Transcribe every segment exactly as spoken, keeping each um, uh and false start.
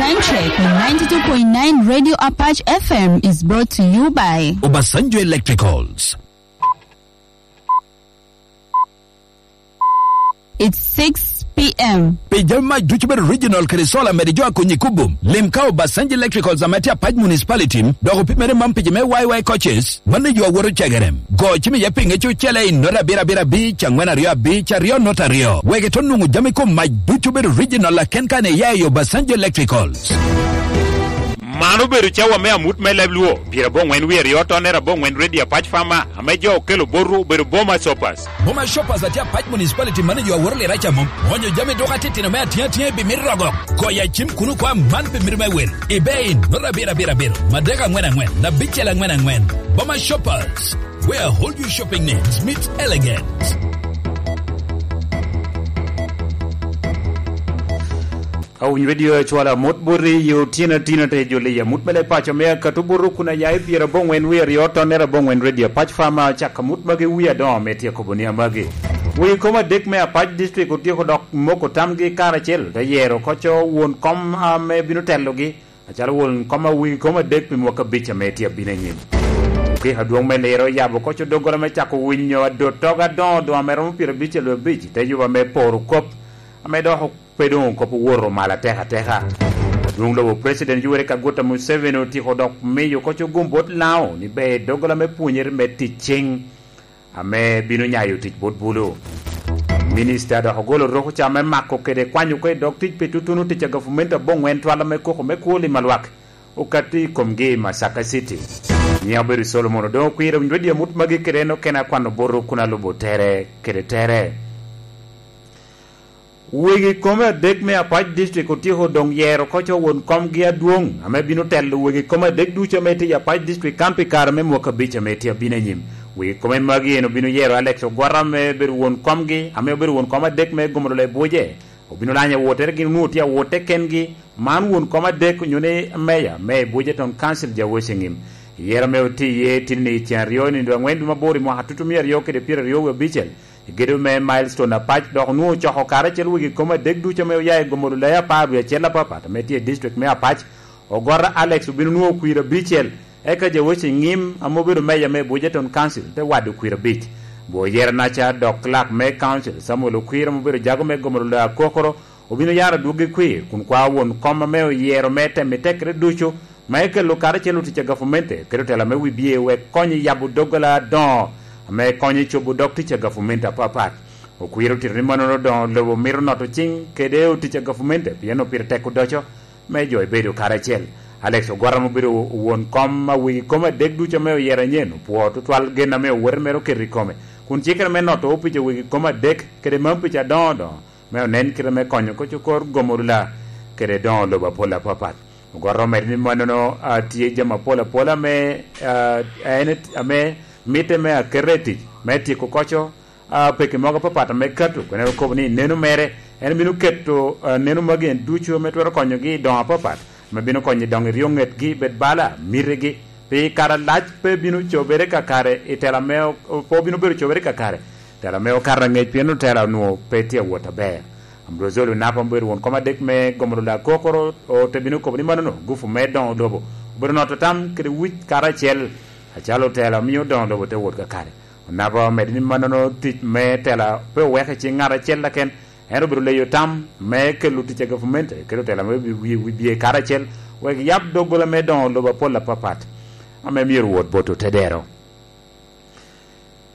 Soundcheck on ninety-two point nine Radio Apache F M is brought to you by Obasanjo Electricals. It's six p.m. Pi jami mac ducu bedo regional kede solar mede jo a konyi kubo. Lim ka Obasanjo Electricals ame tye Apac Municipality, dok opimere man pi jo me Y Y coaches, mano yo awoto cegere. Go cim iye pinge cucele i nota abiro abiro abic, angwen aryo abic, aryo nota aryo. Wek ito nwoŋo jami kom mac ducu bedo regional aken kan iya i Obasanjo Electricals. Man obedo cawa me amut me leb Luo, pyerabongwen wie aryo tonne abongwen Radio Apac Farmer, ame jo okelo botwu obedo Boma Shoppers. Boma Shoppers atye Apac Municipality mano yo aworo lira ca mom. Onyo jami duka titino me atinga tinga i bimit rogo. Goya cim kunu kwa man pi mito me wel. Ibe in, nota abiro abiro abiro, madek angwen angwen, abicel angwen angwen. Boma Shoppers, where all your shopping needs meet elegance. Awiny redio acwalo amut boti i otyeno atino te joli amut me leb paco me akato buru kun aya i pyerabongwen wie aryo tonne abongwen redio Apac Farmer acako amut magi wie adoŋo me tye kobo ni amagi. Wegi kom adek me Apac District otyeko dok moko tamgi karacel te yero koco won kom ame bino telogi, acalo won kom a wegi kom adek pi mwaka abic ame tye abino anyim. Okiko adwong me liro oyabo koco doggola me cako winyo adot togo adoŋo doŋ ame romo pyerabicel abic te yuba me poro kop ame dok pe doŋ kop owoto malo ateka ateka. Adwong lobo President Yoweri Kaguta Museveni otyeko dok miyo koco gum bot Lango ni ber doggola me pwonyere me tic cing ame bino nyayo tic bot bulu. Minista dok ogolo roko ca me mako kede kwanyo oko i dog tic pi tutuno tic a gavumenti abongwen twal ame koko me kwo lim alwak okatti i komgi i Masaka City. Nyiŋa obedo Solomon Odongo Kwir, owinyo redio amut magi kede en okene akwano botwu kun alubo tere kede tere. Wegi kome adek me Apac District otyeko doŋ yero koco won komgi adwoŋ ame bino telo wegi kome adek ducu ame tye i Apac District kan pi kare me mwaka abic ame tye abino anyim. Wegi kome magi en obino yero Alex Ogwara ame bedo won komgi, ame obedo won kom adek me Gomolo Lebuje. Obino lanyo awottere gin onwoŋo tye awotte kengi. Man won kom adek onyo ni meya me Ebuje Town Council, Jaweshi Ngim. Yero ame otye iye tye ni i ceŋ aryo i nino angwen dwe me aboro i mwaka tutumia aryo kede pyeraryo wie abicel, i gedo me Milestone Apac, dok onwoŋo ocoko karacel wegi kom adek ducu ame oya i Gomolo Laya apar wie acel apapat ame tye i district me Apac. Ogwara Alex obino nwoŋo kwir abicel, eka Jaweshi Ngim ame obedo meya me Ebuje Town Council te wado kwir abic. Bwo yero naca dok clerk me council Samuel Okwir ame obedo jago me Gomolo Laya Akokoro obino yaro adwogi kwir kun kwao won kom ame oyero me temo i tekere ducu ma ekelo karacel otic a gavumenti kede otela me wibye wek kony i yabo doggola adoŋo ame konyo i cobo dog tic a gavumenti apapat. Okwir otito ni mannono doŋo lobo mito noto ciŋ kede otic a gavumenti pien opito tek odoco me jo ebedo karacel. Alex Ogwara ame obedo won kom a wegi kom adek ducu ame oyero anyen opwoo tutwal gen ame owote mere oketo i kome kun cikere me noto opic a wegi kom adek kede mam pic adoŋo doŋo me onen kite me konyo koc okor gomo rula kede doŋo lobo apol apapat. Ogoto omedo ni mannono a tye jami apol apol ame a, en et- ame mitte me akete i tic me tyeko koco a, peki mogo apapat ame kato, kun en okobo ni neno mere en bino keto a, neno magi en ducu ame twero konyogi i doŋo apapat ame bino konyo i doŋo i ryo ŋetgi bed bala mitigi pi kare alac pe bino cobere kakare i tela ame o- pe obino bedo cobere kakare. Tela me okato angec pien otela onwoŋo pe tye awot aber. Ambrozoli Onapa obedo won kom adek me Gomolo Lakokoro ote bino kobo ni mannono gufu me doŋo lobo obedo noto tam kede wic karacel acalo otela omio doŋo lobo te wot kakare. Onapa omedo ni mannono tic me tela pe oweko i ciŋ ŋat acel keken, ento obedo leyo tam me kelo tic a gavumenti kede otela me wi- wi- wibye karacel wek yab doggola me doŋo lobo apol apapat ame myero wot bot otedero.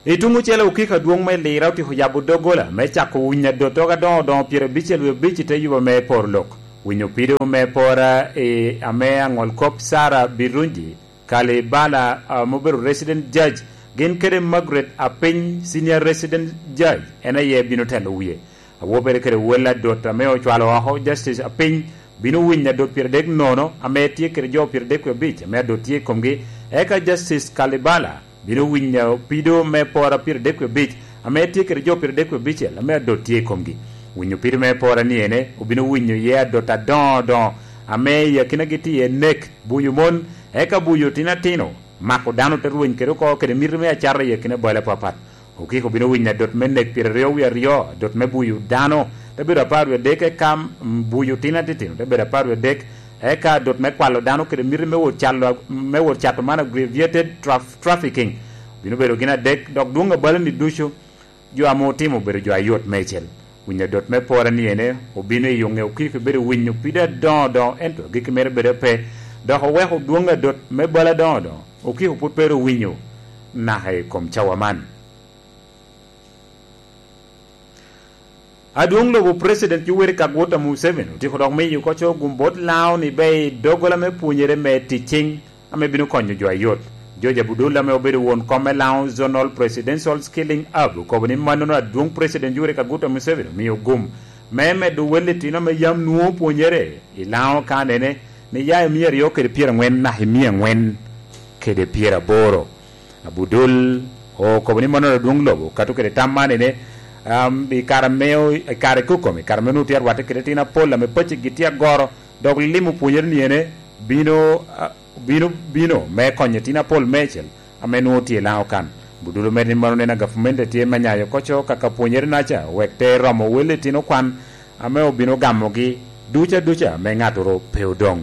I tuŋ ocele okiko adwoŋ me Lira otyeko yabo doggola me cako winyo adottogo adoŋo doŋo pyerabicel wie abic i te yuba me poro lok. Winyo pido me pora i ame aŋol kop Sara Birungi Kalibala ame obedo resident judge gin kede Margaret Apiny senior resident judge en aye bino telo wie. Awobere kede wel adot ame ocwalo oko Justice Apiny bino winyo adot pyeradek nono ame tye kede jo pyeradek wie abic ame adot tye i komgi, eka Justice Kalibala bino winyo pido me pora pyeradek wie abic ame tye kede jo pyeradek wie abicel ame adot tye i komgi. Winyo pido me pora ni ene obino winyo iye adot adoŋo doŋo ame i akinagi tye iye nek, buyo mon, eka buyo tino atino, mako dano te rweny kede oko kede miti me acata i akina bal apapat. Okiko bino winyo adot me nek pyeraryo wie aryo, adot me buyo dano te bedo apar wie adek, eka buyo tino atitino te bedo apar wie adek, Eka dot me kwalo dano kede miti me wot calo, me wot cato man, aggravated traf-, trafficking, bino bedo gin adek, dok dwon abalani ducu jo ame otimo obedo jo ayot meicel. Winyo dot me pore ni ene obino i onge okiko bedo winyo pide adoŋo doŋo, ento agikki mere bedo pe, dok oweko dwon adot me bal adoŋo doŋo okiko pwod pe ru winyo naka i kom cawa man. Adwong lobo President Yoweri Kaguta Museveni otyeko dok miyo koco gum bot Lango ni be i doggola me pwonyere me ticing ame bino konyo jo ayot. George Abudul ame obedo won kom me Lango Zonal Presidential Skilling Hub okobo ni mannono adwong President Yoweri Kaguta Museveni omio gum me medo wel litino ame yam nwoŋo pwonyere i Lango kanene ni ya i mia aryo kede pyerangwen naka i mia angwen kede pyeraboro. Abudul okobo ni mannono adwong lobo okato kede tam man ene, um, i kare me, i kare kokom, i kare me onwoŋo tye arwatte kede tin apol ame pacigi tye agoro, dok limo pwonyere ni ene bino, ah, bino, bino me konyo tin apol meicel ame nwoŋo tye i Lango kan. Abudul omedo ni mano nen a gavumenti tye me nyayo koco kaka pwonyere naca, wek te romo wel litino kwan ame obino gamogi duca duca me ŋato ru pe odoŋ.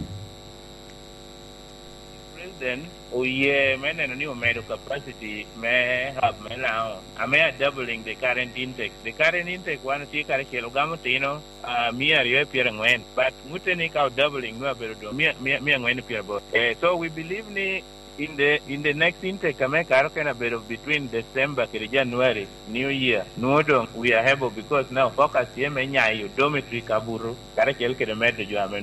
President oye me neno ni omedo capacity me hub me Lango, ame a doubling the current intake. The current intake wan otye karacel ogamo tino, ah, mia aryo i pyerangwen, but ŋutte ni ka o doubling nwe abedo doŋ mia, mia, mia angwen i pyeraboro. Eh, so we believe ni in the, in the next intake ame karo ken abedo between December kede January, New Year, nwoŋo doŋ we are able because now focus tye me nyayo dormitory kabuto, karacel kede medo jo ame